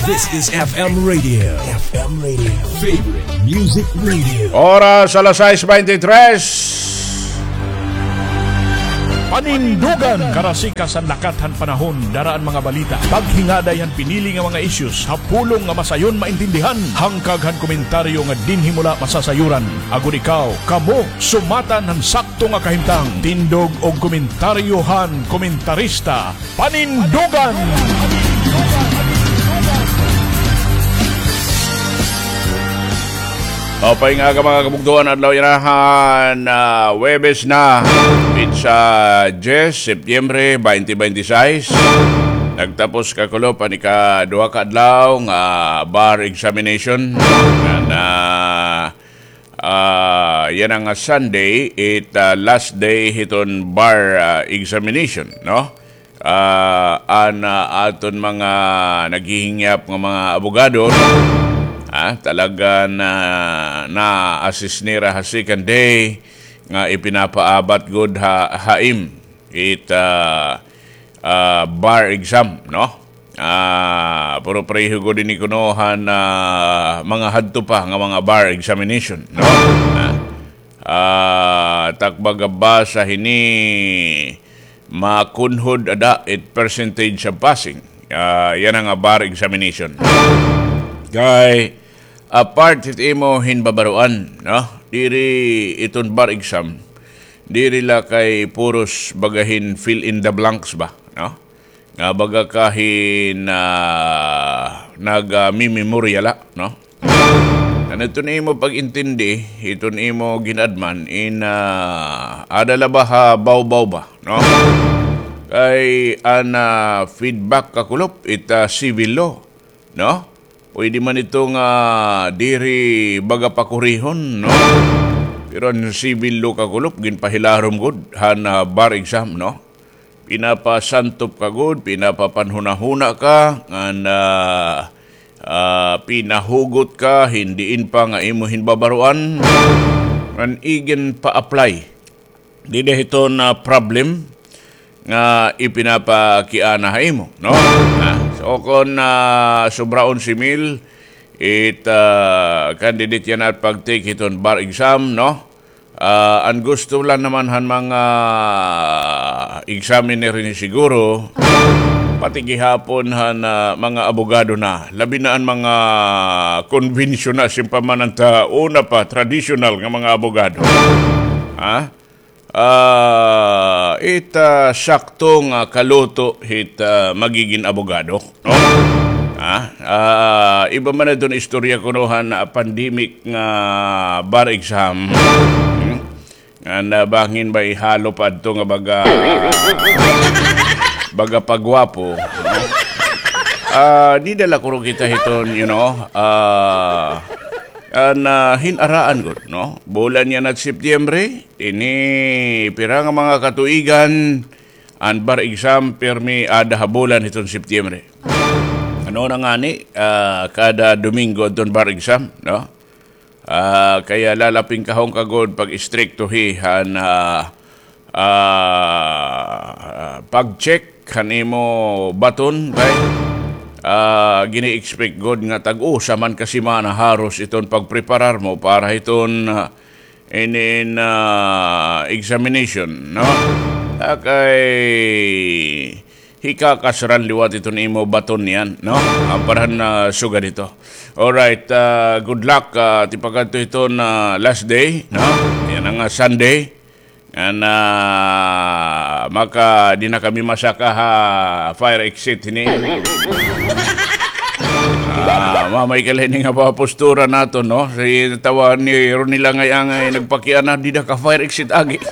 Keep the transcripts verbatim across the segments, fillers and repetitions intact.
This is F M Radio. F M Radio. Favorite Music Radio. Oras alas sais bente tres. Panindugan! Karasikas han lakat han panahon, dara an mga balita, paghingaday han pinili nga mga issues ha pulong nga masayon maintindihan, hangkag han komentaryo nga dinhi mo la masasayuran. Agod ikaw, kamo, sumatan han sakto nga kahimtang. Tindog og komentaryo han komentarista. Panindugan! Maupay nga aga, mga kabugtoan, adlaw yana han, ah, Huwebes na. Petsa diyes, Setyembre, twenty twenty-six. Nagtapos kakulop an ikaduha ka adlaw nga bar examination. Nga na, ah, yana nga Sunday, it, ah, last day hiton bar, ah, examination, no? Ah, an, ah, aton mga naghihingyap nga mga abogado, ah, talaga na na-assist nira ha second day nga ipinapaabat gud ha, ha im it, ah, ah, bar exam, no? Ah, pero pareho gud ini kuno han, ah, mga hadto pa nga mga bar examination, no? Ah, ah, takbag basa hini makunhod ada it percentage of passing. Ah, yana nga bar examination. Kay, apart hit imo hinbabaroan, no? Diri iton bar exam, diri la kay puros baga hin fill in the blanks ba, no? Nga baga ka hin, ah, nag, ah, mimemorya la, no? Kan iton imo pag-intindi, iton imo gin-adman, in, ah, ada la ba ha bawbaw ba, no? Kay an, ah, feedback kakulop, it, ah, civil law, no? Pwede man ito nga diri baga pakurihon, no? Pero an civil law kakulop, ginpahilarom gud han, ah, bar exam, no? Pinapasantop ka gud, pinapapanhunahuna ka, ngan, ah, ah, pinahugot ka hin diin pa nga imo hinbabaroan. Ngan iginpa-apply dida hiton, ah, problem nga ipinapakiana ha imo, no? Ah, so, kon, ah, sobraon si Mil, it, ah, candidate yana it pag-take hiton bar exam, no? Ah, an gusto la naman han mga examiner ini siguro, pati gihapon han, ah, mga abogado na, labi na an mga konbensyon na, simpama man an ta una pa, tradisyonal nga mga abogado. Ha? Ah, it, ah, sakto nga kaluto hit, ah, magigin abogado, no? Ah, ah, iba man adton istorya kuno han, ah, pandemic nga bar exam. Hmm? Nga nabangin ba ihalo pa adto nga baga, baga pagwapo, no? Ah, dida la kuno kita hiton, you know, ah, an, ah, hin-araan gud, no? Bulan yana hit Setyembre, ini pira nga mga katuigan, an bar exam, pirmi ada ha bulan hiton Setyembre. Ano na ngani, ah, kada Domingo adton bar exam, no? Ah, kaya lalapingkahon ka gud pag-istriktohi han, ah, ah, pag-check han imo baton, kay, ah, gini-expect gud nga tag-usa man ka semana haros iton pagpreparar mo para hiton, ah, inin, ah, examination, no? Ah, kay hikakasran liwat iton imo baton niyan, no? Ah, para han, ah, sugad hito. Alright, ah, good luck, ah, tipakadto hiton, ah, last day, no? Yana nga, ah, Sunday. Ngan, ah, maka, di na kami masaka ha fire exit hini. Ah, mamay ka la hini nga mga postura naton, no? Si tawa ni Ronnie la ngay-an nga nagpakiana, dida ka fire exit agi.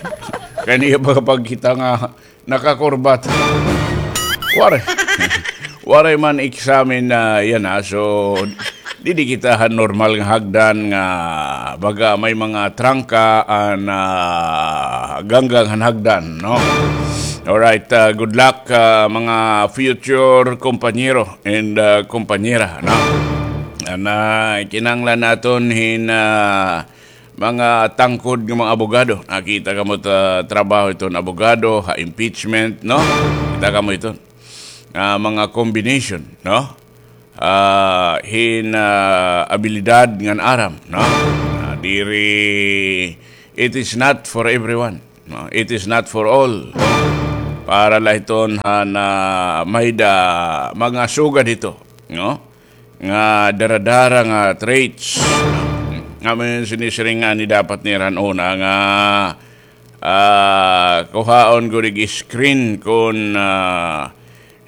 Kay niya ba pagkita nga nakakurbat. Waray. Waray man examine na yana, ah. So, didi kita han normal nga hagdan nga baga may mga trangka an, ah, ganggang han hagdan, no? Alright, ah, good luck, ah, mga future kompanyero and, ah, kompanyera, no? An, ah, kinahanglan naton hin, ah, mga tangkod nga mga abogado. Nakita kamo ta trabaho iton abogado ha impeachment, no? Kita kamo iton. Ah, mga combination, no? ah, hin, ah, abilidad ngan aram, no? Ah, diri, it is not for everyone, no? It is not for all. Para la hiton han, ah, may-ada mga sugad hito, no? Nga dara-dara nga traits. Nga man sinisiring nga ni dapat nira han una nga, ah, kuhaon gud ig screen kon, ah,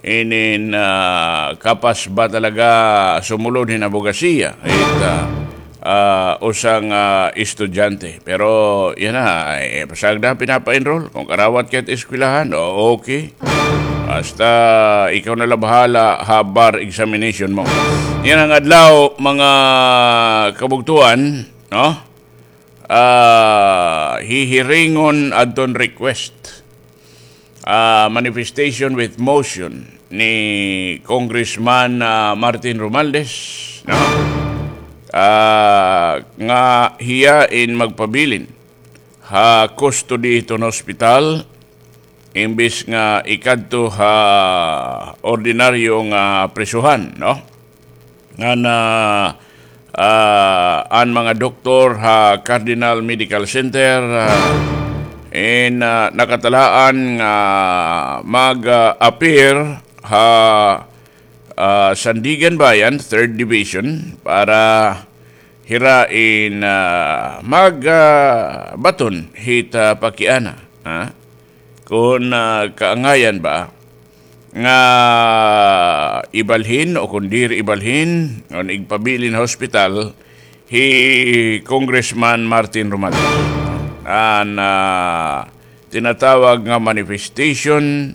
inin, ah, kapas ba talaga sumulod hin abogasiya. It, ah, ah, usa nga estudyante. Pero, yana, eh, pasagda, pinapa-enroll. Kon karawat ka hit eskwelahan, o, okay. Basta ikaw na la bahala ha bar examination mo. Yana nga adlaw, mga kabugtoan, no? Ah, hihiringon adton request, ah, manifestation with motion ni Congressman, ah, Martin Romualdez, no? Ah, nga hiya in magpabilin ha custody hiton hospital, imbis nga ikadto ha ordinaryo nga prisuhan, no? Ngan, ah, an mga doktor ha Cardinal Medical Center, ah, in, ah, nakatalaan nga mag, ah, appear ha, ah, Sandiganbayan, Third Division, para hira in, ah, mag, ah, baton hit, ah, pakiana, ha? Kon, ah, kaangayan ba nga ibalhin o kon diri ibalhin, kon igpabilin ha hospital hi Congressman Martin Romualdez. An, ah, tinatawag nga manifestation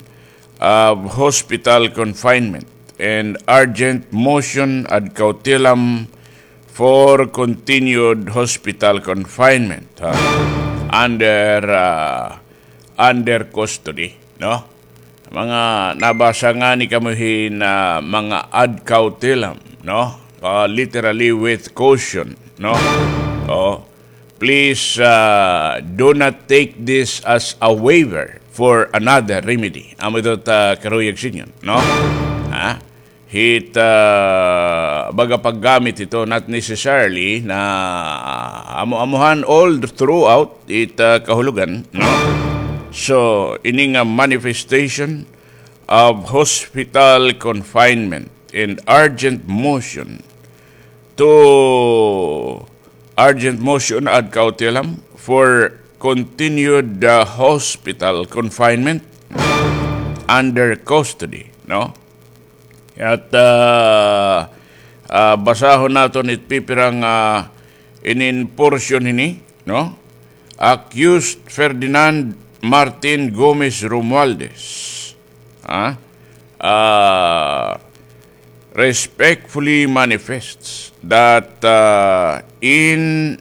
of hospital confinement and urgent motion ad cautelam for continued hospital confinement, ha? Under, ah, under custody, no? Mga nabasa ngani kamo hin, ah, mga ad cautelam, no? Ah, literally with caution, no? Oh, please, ah, do not take this as a waiver for another remedy. Amo ito ta karuyag sa inyo, no? Ha? Hit, ah, baga paggamit ito, not necessarily na amo-amuhan all throughout it, ah, kahulogan, no? So, ini nga manifestation of hospital confinement and urgent motion to urgent motion ad cautelam for continued, uh, hospital confinement under custody, no? At, uh, uh, basahon naton it pipira nga inin portion hini, no? Accused Ferdinand Martin Gomez Romualdez, ha? Uh, respectfully manifests that, uh, in,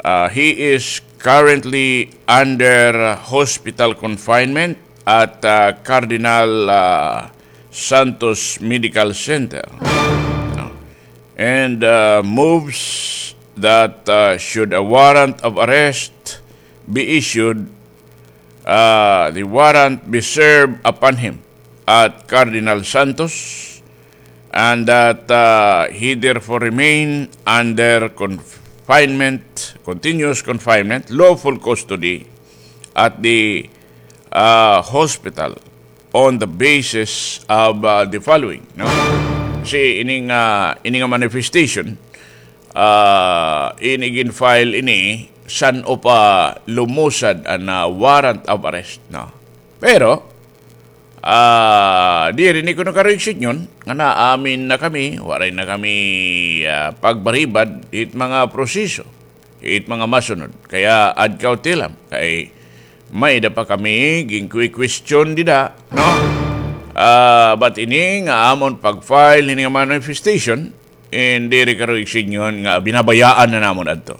uh, he is currently under hospital confinement at, uh, Cardinal, uh, Santos Medical Center, no? And, uh, moves that, uh, should a warrant of arrest be issued, uh, the warrant be served upon him at Cardinal Santos, and that, uh, he therefore remain under confinement, continuous confinement, lawful custody at the, uh, hospital on the basis of, uh, the following, no? Kasi ini nga, ini nga manifestation, ah, ini gin-file ini, san-o pa lumusad an, ah, warrant of arrest, no? Pero, ah, diri ini kuno karuyag sa inyo nga naamin na kami, waray na kami, ah, pagbaribad hit mga proseso, hit mga masunod. Kaya ad cautelam, kay may-ada pa kami ginkwi-question dida, no? Ah, but ini nga amon pag-file hini nga manifestation, and diri karuyag sa inyo nga binabayaan na namon adto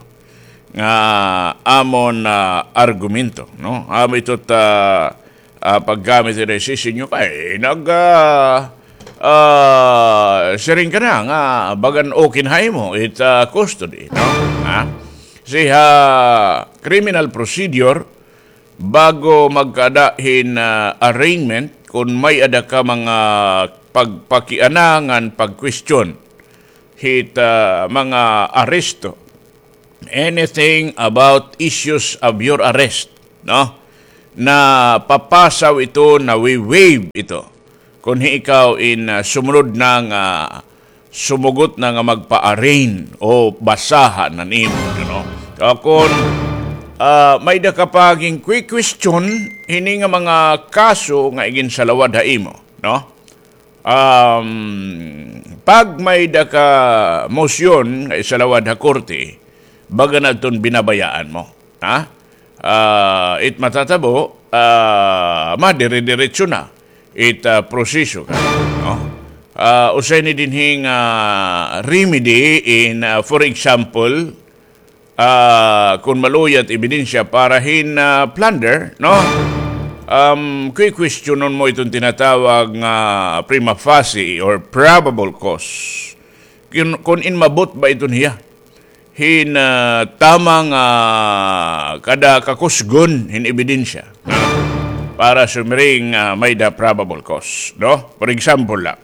nga amon, ah, argumento, no? Amo ito ta, ah, paggamit hini sa inyo kay nag, ah, ah, siring ka na nga bagan okay na ha imo it, ah, custody, no? Ha? Kasi ha criminal procedure, bago magkaada hin, ah, arraignment, kon may-ada ka mga pagpakiana ngan pag-question hit, ah, mga aresto. Anything about issues of your arrest, no? Napapasaw ito, nawi-waive ito. Kon hi ikaw in, ah, sumunod na nga, sumugot na nga magpa-arraign o basaha na nimo, you know. Ah, kon, ah, may-ada ka pa gin-question, hini nga mga kaso nga iginsalawad ha imo, no? Um, pag may-ada ka mosyon nga isalawad ha korte, baga na iton binabayaan mo, ha? Ah, it matatabo, ah, madire-diretso na it, ah, proseso ka, no? Ah, usa ini dinhi nga remedy in, ah, for example, ah, kon maluya it ebidensya para hin, ah, plunder, no? Um, kwi-questionon mo iton tinatawag nga prima facie or probable cause. Kun, kun in maabot ba iton hiya hin, ah, tama nga kada kakusgon hin ebidensya, no? Para sumiring, ah, may-ada probable cause, no? For example la,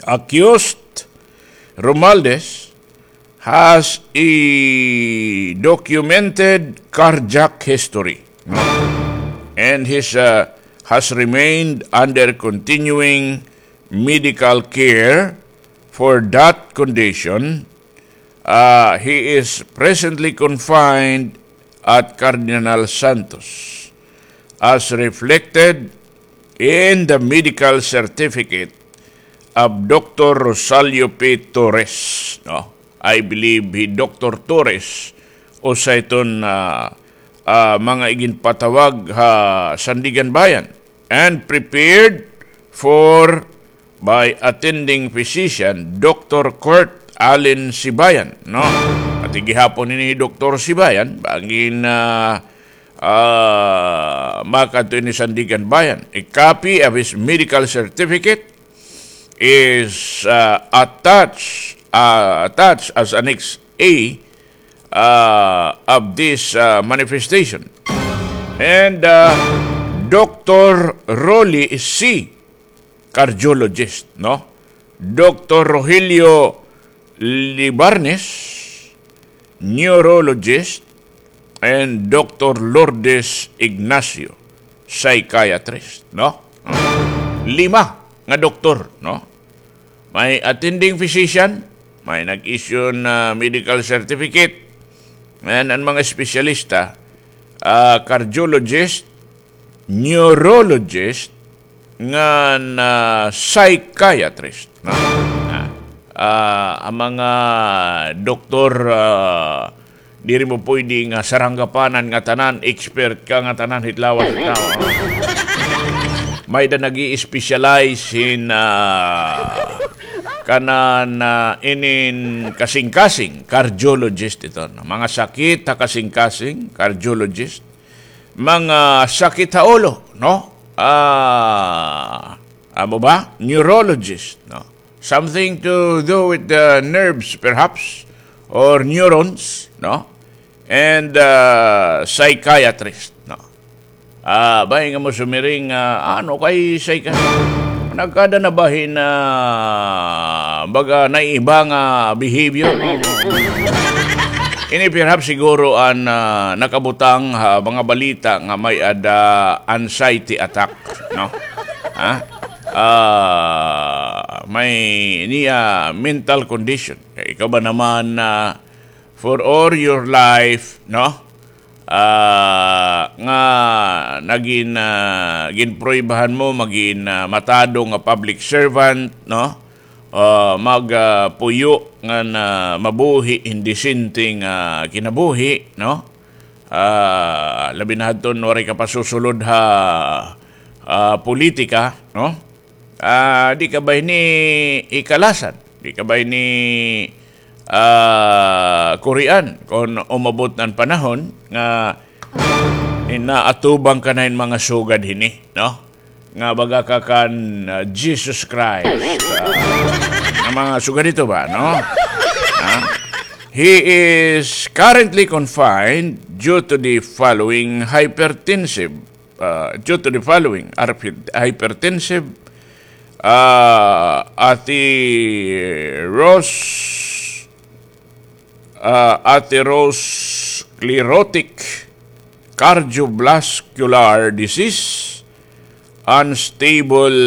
accused Romualdez has a documented cardiac history, no? And his, uh, has remained under continuing medical care for that condition. Uh, he is presently confined at Cardinal Santos, as reflected in the medical certificate of Doctor Rosalio P. Torres, no? I believe hi Doctor Torres, usa iton, ah, ah, mga iginpatawag ha Sandiganbayan and prepared for by attending physician, Doctor Kurt Allen Sibayan, no? Ati gihapon ini hi Doktor Sibayan, bangin, ah, ah, makadto ini Sandiganbayan. A copy of his medical certificate is, ah, attached, ah, attached as Annex A, ah, of this, ah, manifestation. And, ah, Doctor Rolly C, cardiologist, no? Doctor Rogelio Libarnes, neurologist, and Doctor Lourdes Ignacio, psychiatrist, no? Lima nga doktor, no? May attending physician, may nag-issue na medical certificate, and an mga espesyalista, ah, cardiologist, neurologist, ngan psychiatrist, no? Ah, ah, an mga doktor, ah, diri mo pwede nga saranggapanan nga tanan, expert ka nga tanan hit lawas hit tawo. May-ada nag-i-specialize hin, ah, kanan, ah, inin kasingkasing, cardiologist ito, no? Mga sakit ha kasingkasing, cardiologist. Mga sakit ha ulo, no? Ah, amo ba? Neurologist, no? Something to do with the nerves, perhaps, or neurons, no? And, ah, psychiatrist, no? Ah, bay nga mo sumiring, ah, ano kay psychi-, nagkada na ba hin, ah, baga naiiba nga behavior? Ini perhaps siguro an, ah, nakabutang ha mga balita nga may-ada anxiety attack, no? Ha? Ah, may niya mental condition. Kay ikaw ba naman, ah, for all your life, no? Ah, nga nagin, ah, ginpruwebahan mo, magin, ah, matado nga public servant, no? Ah, mag, ah, puyo nga na mabuhi hin disente nga kinabuhi, no? Ah, labi na hadton waray ka pa susulod ha, ah, politika, no? Ah, di ka ba ini ikalasan? Di ka ba ini, ah, kurian kon umabot an panahon nga inaatubang ka na hin mga sugad hini, no? Nga baga ka kan, ah, Jesus Christ. Ah, an mga sugad ito ba, no? Ah? He is currently confined due to the following hypertensive, ah, due to the following hyper-, hypertensive Ah, Ate Rose, ah, Ate Rose, sclerotic cardiovascular disease, unstable